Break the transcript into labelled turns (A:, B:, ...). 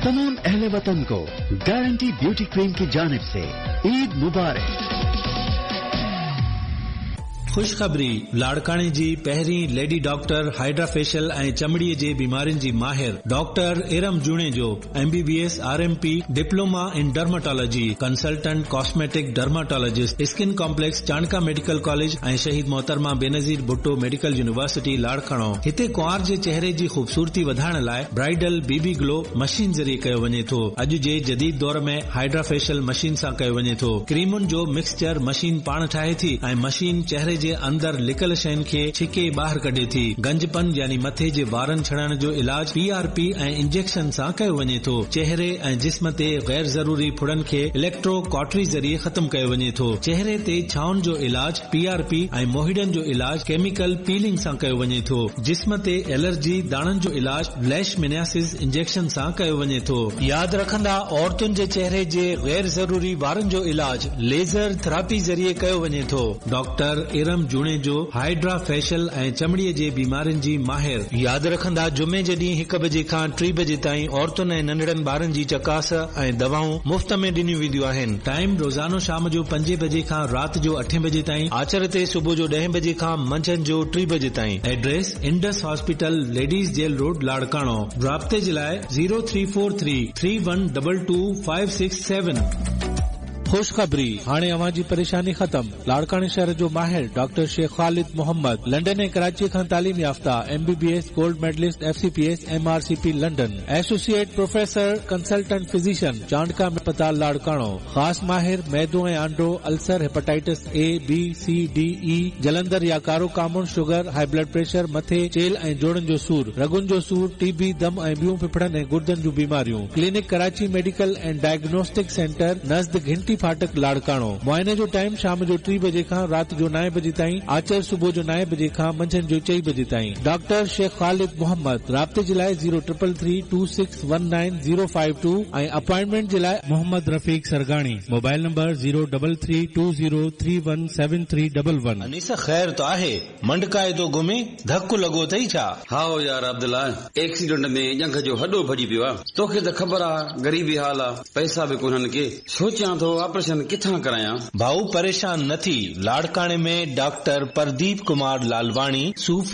A: तमाम अहले वतन को गारंटी ब्यूटी क्रीम की जानिब से ईद मुबारक।
B: خوشخبري، لاڙڪاڻي جي پهرين ليڊي ڊاڪٽر هائيڊرا فيشل ۽ چمڙي جي بيمارين جي ماهر doctor Iram Junejo, M B B S, R M P, diploma in dermatology, consultant cosmetic dermatologist, skin complex Chandka medical college ۽ شهيد محترمه بينظير ڀٽو ميڊيڪل يونيورسٽي لاڙڪاڻو. هتي ڪنوار جي چهري جي خوبصورتي وڌائڻ لاء برائيڊل بي بي گلو مشين ذريعي ڪيو وڃي ٿو. اڄ جي جديد دور ۾ هائيڊرا فيشل مشين سان ڪيو وڃي ٿو. ڪريمن جو مڪسچر مشين پاڻ ٺاهي ٿي ۽ مشين چهري جي اندر لڪل شين کي ڇڪي ٻاهر ڪڍي ٿي. گنجپن يعني مٿي جي وارن ڇڻڻ جو علاج پي آر پي ۽ انجيڪشن سان ڪيو وڃي ٿو. چهري ۽ جسم تي غير ضروري ڦڙن کي اليڪٽرو ڪاٽري ذريعي ختم ڪيو وڃي ٿو. چهري تي ڇائن جو علاج پي آر پي ۽ موهيڙن جو علاج ڪيميڪل پيلنگ سان ڪيو وڃي ٿو. جسم تي الرجي داڻن جو علاج ليشمينياسز انجيڪشن سان ڪيو وڃي ٿو. ياد رکندا عورتن جي چهري جي غير ضروري وارن جو علاج ليزر ٿراپي ذريعي ڪيو وڃي ٿو. Doctor Iram Junejo hydra facial ۽ چمڙي جي بيمارين جي ماهر. ياد رکندا جمعي جي ڏينهن هڪ بجي کان ٽي بجي تائين عورتن ۽ ننڍڙن ٻارن جي چڪاس ۽ دوائون مفت ۾ ڏنيون وينديون آهن. ٽائيم روزانو شام جو پنجين بجي کان رات جو اٺين بجي تائين، آچر تي صبح جو ڏهين بجي کان منجهند جو ٽي بجي تائين. Address, Indus hospital, ladies jail road, Larkana. رابطي جي لاء zero three four three, three one double two five six seven. خوشخبري! هاڻي اوهان جي پريشاني ختم. لاڙڪاڻي شهر جو ماهر ڊاڪٽر شيخ خالد محمد، لنڊن ۽ ڪراچيء کان تعليم يافته، M B B S, gold medalist, F C P S, M R C P London, associate professor, consultant physician, Chandka اسپتال لاڙڪاڻو، خاص ماهر، معدو ۽ آنڊو، ulcer, hepatitis A, B, C, D, اي، جلندر يا ڪارو ڪامڻ، شگر، هائي بلڊ پريشر، مٿي، چيلهه ۽ جوڙن جو سور، رڳن جو سور، ٽي بي، دم ۽ ٻيون ڦڦڙن ۽ گردن جون بيماريون. Clinic Karachi medical and diagnostic centre نزد گهنٽي ڦاٽڪ لاڙڪاڻو. معائني جو ٽائيم شام جو ٽي بجي کان رات جو نائين بجي تائين، آچر صبح جو نائين بجي کان منجهند جو چئين بجي تائين. ڊاڪٽر شيخ خالد محمد، رابطي جي لاء zero triple three two six one nine zero five two ۽ appointment جي لاء Muhammad Rafiq Sargani, mobile number zero double three two zero three one seven three double one.
C: Anees خير ته آهي، منڊڪائي ٿو گهمين، ڌڪ لڳو اٿئي ڇا؟
D: هائو يار عبدالله، ايڪسيڊنٽ ۾ ڄنگهه جو هڏو ڀڄي پيو آ. توکي ته خبر آ غريبي حال آ، پئسا به ڪونهن ڪي. سوچيان ٿو آپريشن ڪٿان ڪرايان؟
C: ڀائو پريشان نه ٿي، لاڙڪاڻي ۾ ڊاڪٽر پرديپ ڪمار لالواڻي، صوفي،